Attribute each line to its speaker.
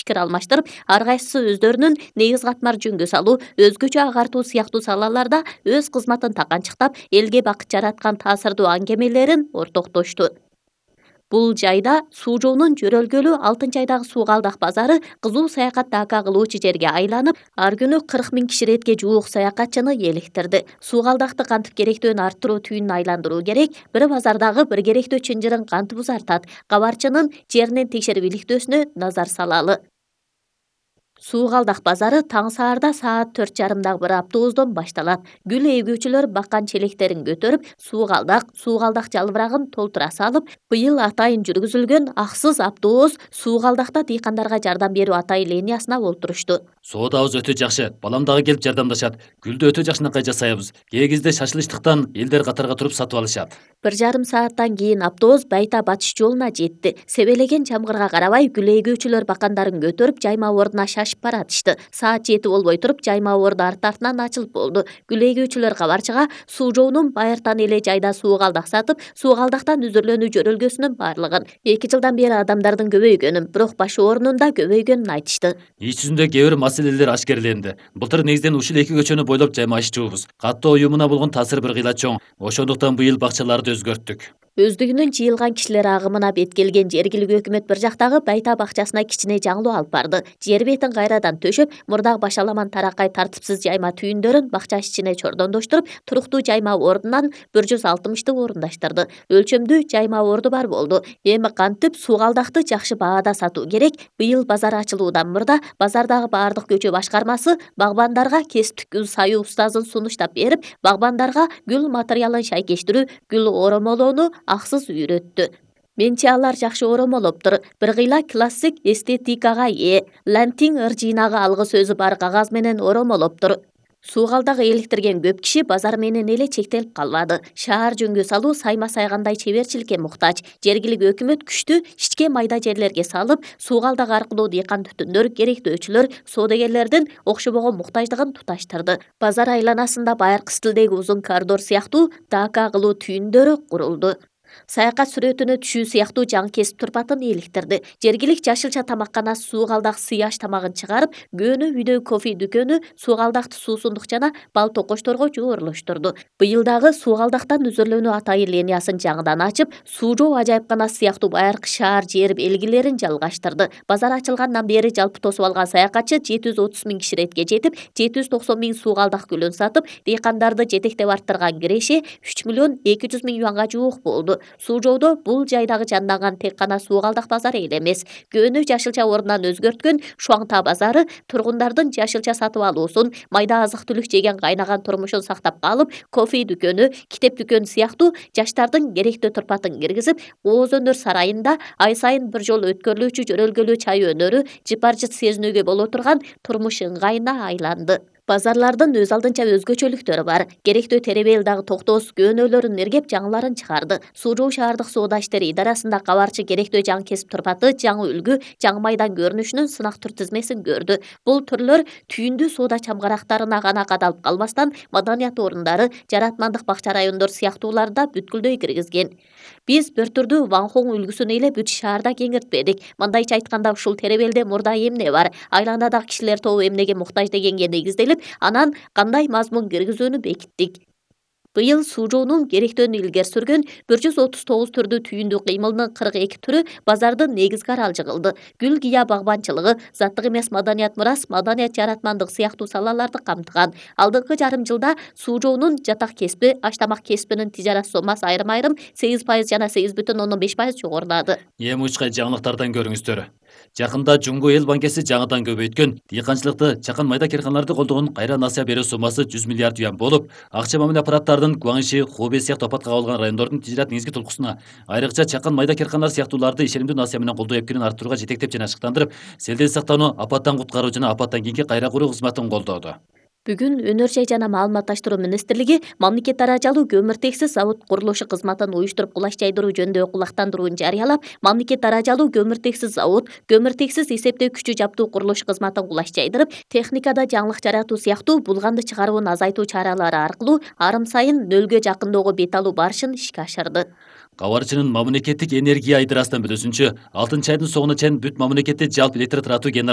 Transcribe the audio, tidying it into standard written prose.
Speaker 1: пикир алмаштырып, ар кайсысы өздөрүнүн негиз катмар жөнгө салуу, өзгөчө агартуу сыяктуу салаларда өз кызматын таканчыктап, элге бакыт жараткан таасирдуу аңгемелерин ортоктошту. Бул жайда суу жоонун жөрөлгөлү Алтын айдагы суу калдак базары кызуу саякат дака кылуучу жерге айланып, ар күнү 40 000 киши иретке жуук саякатчыны эликтирди. Суу калдакты кантип керектөөн арттыруу түйүнүн айландыруу керек, бир базардагы бир керектөө чынжырын кантип узартат, кабарчынын жеринен текшерип иликтөөсүнө назар салалы. Суу калдак базары таң саарда саат 4:30 бир автобустон башталат. Гүл эгүүчүлөр баккан челектерин көтөрүп, суу калдак жалбырагын толтура салып, быйыл атайын жүргүзүлгөн аксыз автобус суу калдакта дыйкандарга жардам берүү атайын линиясына олтурушту.
Speaker 2: Соодабыз өтө жакшы, балам дагы келип жардамдашат. Гүлдү өтө жакшынакай жасайбыз. Кээ кезде шашылычтыктан элдер катарга туруп сатып алышат.
Speaker 1: 1,5 сааттан кийин автобус Байта батыш жолуна жетти. Себелеген жамгырга карабай, гүл эгүүчүлөр бакандарын көтөрүп, жайма ордуна шашып баратышты. Саат 7 болбой туруп, жайма орду арт-артынан ачылып болду. Гүл эгүүчүлөр кабарчыга суу жоонун байыртан эле жайда суу калдак сатып, суу калдактан үзүрлөнүү жөрөлгөсүнүн баардыгын 2 жылдан бери адамдардын көбөйгөнүн, бирок баш оорунун да көбөйгөнүн айтышты.
Speaker 2: Иш жүзүндө кээ бир маселелер ашкерленди. Былтыр негизден ушул 2 көчөнү бойлоп жаймашчубуз. Каттоо уюмуна болгон таасир бир кыйла чоң. Ошондуктан быйыл бакчаларды өзгөрттүк.
Speaker 1: Өздүгүнүн жыйылган кишилер агымына бет келген жергиликтүү өкмөт бир жактагы Байта бакчасына кичине жаңылуу алып барды. Жер бетин кайрадан төшөп, мурдагы башаламан таракай тартипсиз жайма түйүндөрүн бакча ичине чордондоштуруп, туруктуу жайма ордунан 160 орундаштырды. Өлчөмдүү жайма орду бар болду. Эми кантип суу калдакты жакшы баада сатуу керек? Быйыл базар ачылуудан мурда базардагы баардык көчө башкармасы багбандарга кесиптик гүл саюу устазын сунуштап берип, багбандарга гүл материалын шайкештирүү, гүл оромолоону аксыз үйрөттү. Менчи алар жакшы оромолоптур. Бир кыйла классик эстетикага ээ. Лантин ыр жыйнагы алгы сөзү бар кагаз менен оромолоптур. Суу калдак эликтирген көп киши базар менен эле чектелип калбады. Шаар жөнгө салуу сайма сайгандай чеберчиликке муктаж. Жергиликтүү өкмөт күчтү ичке майда жерлерге салып, суу калдак аркылуу дыйкан түтүндөр, керектөөчүлөр, соодагерлердин окшобогон муктаждыгын туташтырды. Базар айланасында байыркы стилдеги узун коридор сыяктуу дака кылуу түйүндөрү курулду. Саякат сүрөтүнө түшүү сыяктуу жаңы кесип турпатын эликтирди. Жергилик жашылча тамакканасы суу калдак сыяш тамагын чыгарып, көөнү үйдө кофе дүкөнү суу калдакты суусундук жана бал токочторго жоорлоштурду. Быйыл дагы суу калдактан үзүрлөнүү атайын линиясын жаңыдан ачып, суу жоо ажайыпканасы сыяктуу байыркы шаар жер белгилерин жалгаштырды. Базар ачылгандан бери жалпы тосуп алган саякатчы 730 000 киши иретке жетип, 790 000 суу калдак гүлүн сатып, дыйкандарды жетектеп арттырган киреше 3 200 000 юанга жуук болду. Суу жоодо бул жайдагы жанданган тек гана суу калдак базары эле эмес, көөнү жашылча ордунан өзгөрткөн Шуаңта базары тургундардын жашылча сатып алуусун, майда азык-түлүк жеген кайнаган турмушун сактап калып, кофе дүкөнү, китеп дүкөнү сыяктуу жаштардын керектөө турпатын киргизип, Ооз өнөр сарайында ай сайын бир жолу өткөрүлүүчү жөрөлгөлүү чай өнөрү жыпар-жыт сезинүүгө боло турган турмуш ыңгайына айланды. Базарлардын өз алдынча өзгөчөлүктөрү бар. Керектөө теребел дагы токтоос көөнөлөрүн иргеп жаңыларын чыгарды. Суу жоо шаардык соода иштери идарасында кабарчы керектөө жаңы кесип турпаты, жаңы үлгү, жаңы майдан көрүнүшүнүн сынак түр тизмесин көрдү. Бул түрлөр түйүндүү соода чамгарактарына гана кадалып калбастан, маданият орундары, жаратмандык бакча райондор сыяктууларда бүткүлдөй киргизген. Биз бир түрдүү Ванхоң үлгүсүн эле бүт шаарда кеңиртпедик. Мындайча айтканда, ушул теребелде мурда эмне бар, айланадагы кишилер тобу эмнеге муктаж дегенге негизделип, анан кандай мазмун киргизүүнү бекиттик. Быйыл суу жоонун керектөөнү илгери сүргөн 139 түрдүү түйүндүү кыймылдын 42 түрү базардын негизги аралжы кылды. Гүл гыя багбанчылыгы, заттык эмес маданият мурас, маданият жаратмандык сыяктуу салаларды камтыган. Алдыңкы жарым жылда суу жоонун жатак кесиби, аш-тамак кесибинин тижарат сомасы айрым-айрым 8% жана 8,5% жогорулады.
Speaker 2: Эми учкай жаңылыктардан көрүңүздөр. Жакында Жумго эл банкеси жаңыдан көбөйткөн дыйканчылыкты, чакан майда керканаларды колдогон кайра насыя берүү сомасы 100 миллиард юан болуп, акча мамиле аппараттарынын Гуаңши, Хубэй сыяктуу апатка кабылган райондордун тижарат негизги толкусуна, айрыкча чакан майда керканалар сыяктууларды ишенимдүү насыя менен колдоо эпкирин арттырууга жетектеп жана ашыктандырып, селден сактануу, апаттан куткаруу жана апаттан кийинки кайра куруу кызматын колдоду.
Speaker 1: Бүгүн Өнөр жай жана маалыматташтыруу министрлиги мамлекет даражалуу көмүртексиз завод курулушу кызматын уюштуруп кулаш жайдыруу жөнүндөгү кулактандырууну жарыялап, мамлекет даражалуу көмүртексиз завод, көмүртексиз эсептөө күчү жаптуу курулуш кызматын кулаш жайдырып, техникада жаңылык жаратуу сыяктуу булганды чыгарууну азайтуу чаралары аркылуу арым сайын нөлгө жакындоого бет алуу барышын ишке ашырды.
Speaker 2: Кабарчынын мамлекеттик энергия айдырасынан билүүсүнчө, 6 айдын соңуна чейин бүт мамлекетте жалпы электр таратуу генерал